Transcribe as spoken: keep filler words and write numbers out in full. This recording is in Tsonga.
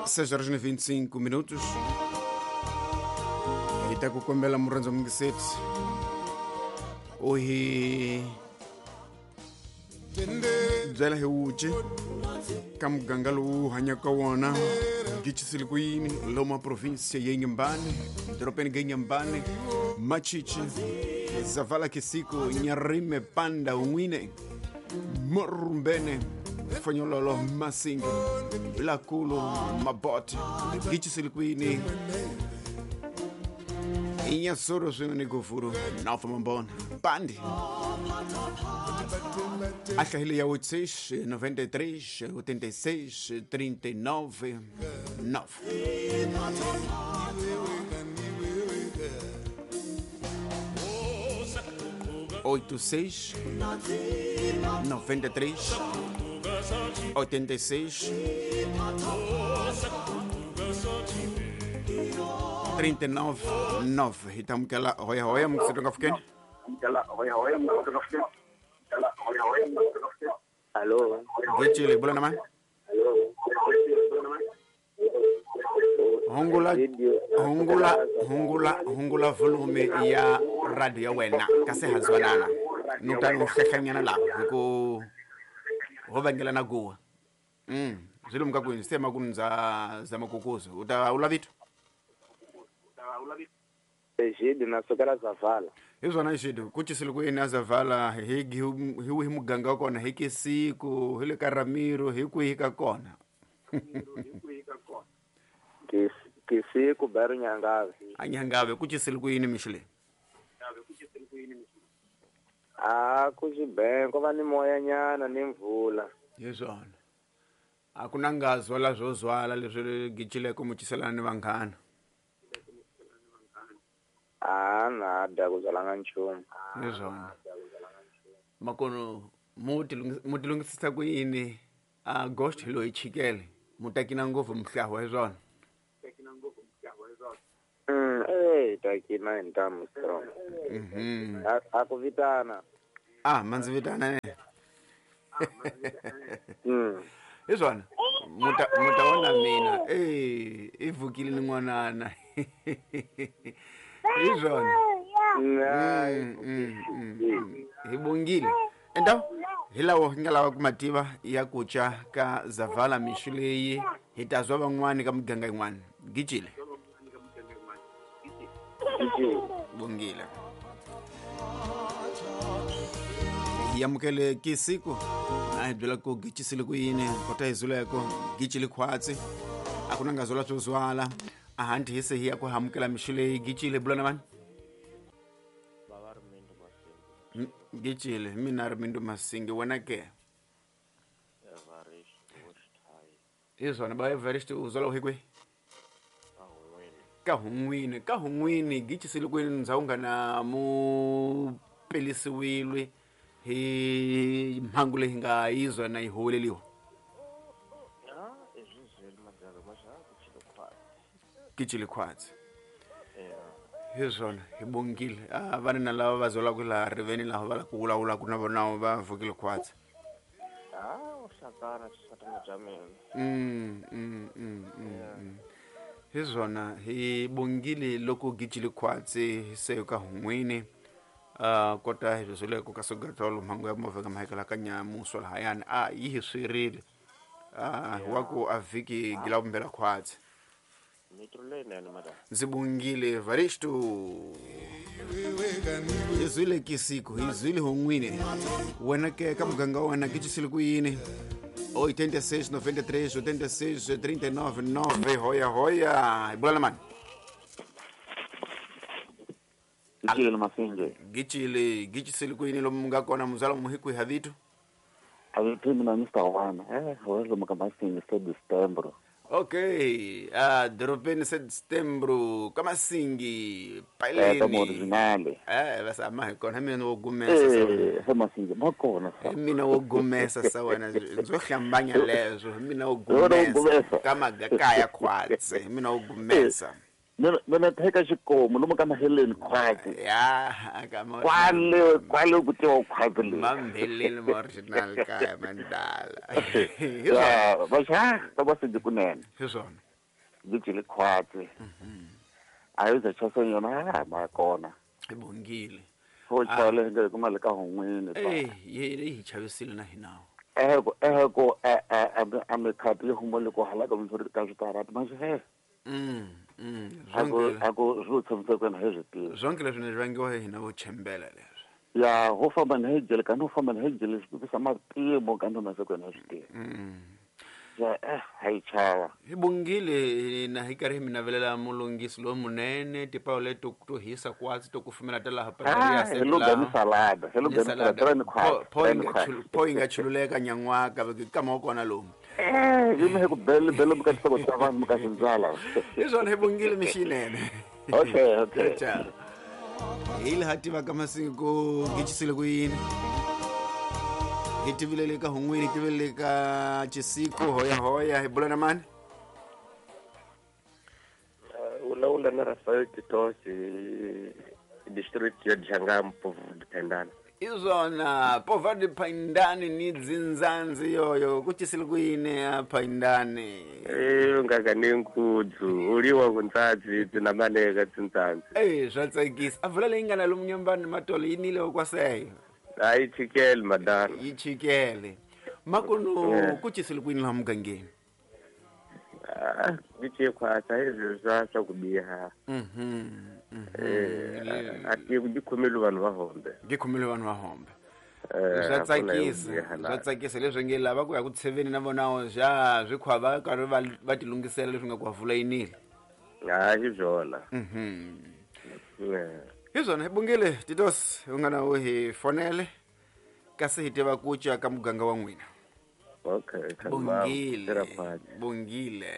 seis horas e vinte e cinco minutos. Hi ta ku kombela murhandzo mungiseti u hi byela hi wuce ka muganga lowu hanyaka wona gicisile ku yini loma província ya Inhambane, dorobeni ga Inhambane, Machichi, Zavala Kisiko, Nyarime, Panda, Unwine, Morumbene, Fanyololo, Masinga, Vilakulo, Mabote, gicisile ku yini Inhassoro swin'we ni Gofuru, Nova Mambona, Pandi. A hlahile ya oito seis, noventa e três, oitenta e seis, trinta e nove, nove. oito seis, noventa e três, oitenta e seis, trinta e nove, nove. Então, que ela roia roia, muito cedo que Alô. Gitile, bula na mãe. Hungula, hungula, hungula, hungula volume ya radio ya wena. Kasi hazwanana. Nuta nuhehemyana la. Huko hobangela na goa. Mm. Zilo mkakwini sema kunza za makukuzo. Uta ula vitu. Ejido na sokala Zavala. Izwo na ejido kuchisile ku ina Zavala hi hi hi muganga kona hi Kisiko hi le ka Ramiro hi ku hi ka kona. Kisiko baro Nyangave. A Nyangave kuchisile ku yini mixile? Ah kuchibenko va ni moya nyana ni mvula. Yezwana. A ku na ngazwa la zwo zwala leswi gicileko muchiselana ni vanghana. Ah na da ku byalanga nchumu. Yezwana. Makono muti muti lungisisa ku yini a ghost hi loyi chikele mutakina ngopfu mhlahwa yezwana. Mm eh takina ntamu strong. Mhm. A ku vitana. Ah manzi vitana ne. Mm. Yezwana. Muta mutaona mina eh ivukile ni n'wanana. Yezwana. Mm, mm, mm. Hi bongile. Enda hilawo hi nga lava ku mativa ya kucha ka Zavala mixu leyi hi ta zwa van'wani ka muganga yin'wana. Gicile. Bongile. Hi amukele Kisiko. A hi byela ku gicisile ku yini kota hi zuleko gicile khwatsi a ku na nga zola swo zwala a hanti hi se hi ya ku amukela mixu leyi gicile bula na vanhu. Gicile mina ri Mindu Masingi wena ke izona ba Everest uzola hi kwihi ka hun'wini ka hun'wini gicisile ku yini ndzhawu nga na mu pelisiwile hi mhangu leyi nga yizwa na yi huweleliwa. Gicile khwatsi. Hizona hi bongile a vana na lava va zolaka laha riveni laha va la ku vulavula ku na vona va vukile khwatsi. Ah u hlakana xisatana bya mina. Mm mm mm. Hizona hi bongile loko gicile khwatsi se ka hun'wini a kota hi zwileko ka sogatolo mhangu ya movha ka mahekela ka nyamuso lahayani a yi hi swirile a wa ku a vhiki gila vumbela khwatsi. Ndzi bongile Varisto. Hi zwile Kisiko, hi zwile hun'wini. Wena ke ka muganga wa wena gicisile ku yini? oitenta e seis, noventa e três, oitenta e seis, trinta e nove, nove. Hoya hoya. Hi bula na mani? Gicile Masinge. Gicile, gicisile ku yini lomu nga kona muzala mu hi kwihi ha vito? A vito mina Mister Wana. Eh, lomu ka Masinge se December. Okay, ah dorobeni se Setembro, ka Masingi, Paileni. Eh, ka original. Eh, basa ma hi kona mina wo gumesa sa. Eh, Masingi, ma kona sa. Mina wo gumesa sa wena, ndzo hlambanya leswo, mina wo gumesa. Ka magakaya khwatsi, mina wo gumesa. Mina mina teka xikomu lomu ka maheleni khwatsi. Ya ka ma Kwale kwale ku tiwa khwatsi le. Mambeleni ma original kaya mandala. Ya, va xa ka va sindi kunene. Hi swona. Gijile khwatsi. A yi za chasa yona ha ma kona. Hi bongile. Ho chale nge kuma le ka hon'wini. Eh, ye hi chavisile na hina. Eh ko eh ko a a a me khapi humo le ko hala ka mfuri ka switarata manje he. Mm. Mm. Ako ako zwo tshomtse kwena he zwi. Zonke leswi ni vangiwa hi hina vo chembela leswi. Ya ho famba na hejele ka no famba na hejele swi sa mapimo ka no na se kwena swi. Mm. Ya eh hayi chava. Hi bongile na hi karhi mi navelela mulungisi lo munene tipawu leto to hisa kwatsi to kufumela ta laha Pretoria se la. Ni salada, hello ni salada. Po yi nga chululeka nyan'waka ka ma kona lomu. Eh, yi me ku bele bele muka tsoko tsa vanhu muka sindzala. Hi swona hi bongile mixinene. Okay, okay. Ciao. Hi laha tivaka masiku gichisile ku yini. Hi tivilele ka hun'wini, hi tivilele ka Chisiko hoya hoya hi bula na mani? Ulawula na Rafael Titosi district ya Djangampo Dipendana. Izona pova Dipendani ni dzinzanzi yoyo kuchisile ku yini apha indani? Eh ngakanenkudzu uliwa kuntsatsi tinamaneka tsintsantsi. Eh swa tsakisa. A vula leyi nga na lomu nyambani matolo yinile okwaseyo. Hayi chikele madala. Yi chikele. Makuno kuchisile ku yini laha mugangeni? Ah, giche khwatsa izwi swa swa ku biha. Mhm. Eh a ti ku dikhomele vanhu va hombe. Dikhomele vanhu va hombe. Swa tsakisa, swa tsakisa leswi nge lava ku ya ku tsheveni na vona ja swi khwa va karhi va va tilungisela leswi nga ku vula yinile. Hayi byona. Mhm. Hi swona hi bongile Titos u nga na u hi fonele kasi hi tiva ku ca ka muganga wa n'wina. Okay, bongile. Bongile.